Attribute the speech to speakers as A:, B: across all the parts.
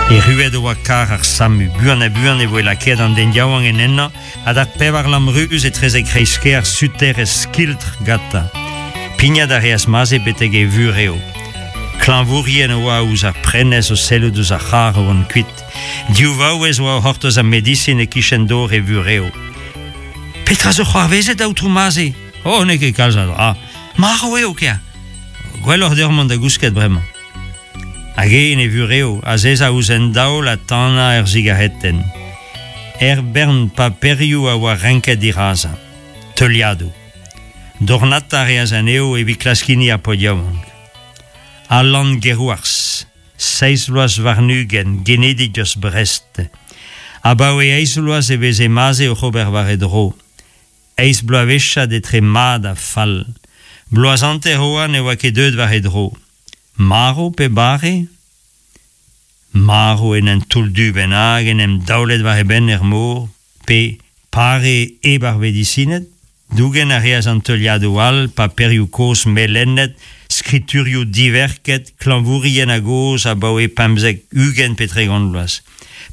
A: Erruet e oa karr ar SAMU. Buan-ha-buan e voe lakaet an den yaouank en ennañ ha d'ar pevarlamm ruz etrezek kreiz-kêr suterezh skiltr gantañ. Pignat a reas Maze betek e vurev. Klañvourien a oa ouzh ar prenestr o sellout ouzh ar c'harr o vont kuit. Div vaouez oa o c'hortoz ar medisin e-kichen dor e vurev. Petra zo c'hoarvezet, aotrou Maze? Oh, n'eo ket kalz a dra. Marv eo, kea. Gwelloc'h deoc'h mont da gousket bremañ. Hag eñ en e vurev, azezañ ouzh un daol ha tanañ ur sigaretenn. Er bern paperioù a oa renket dirazañ. Teuliadoù. Dornata a reas anezho evit klask hini ar paotr yaouank. Alan Gerouars, seizh vloaz warn-ugent, genidik eus Brest. Abaoe eizh vloaz e veze Maze oc'h ober war e dro. Eizh bloavezhiad etre mat ha fall. Bloaz hanter oa ne oa ket deuet war e dro. Marv pe bare? Marv en un toull-du bennak en em daolet war e benn er mor, pe pare hep ar vedisined? Dougen a reas an teuliadoù all, paperioù kozh melenet, skriturioù diverket, klañvourien a-gozh abaoe 15, 20 pe 30 vloaz.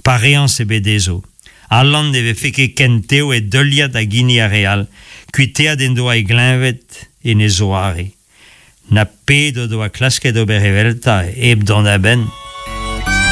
A: Pareañs ebet dezho. Alan ne vefe ket ken tev e deuliad hag hini ar re all, kuiteat en doa e gleñved en e zoare. Na pet o doa klasket ober eveltañ hep dont a-benn.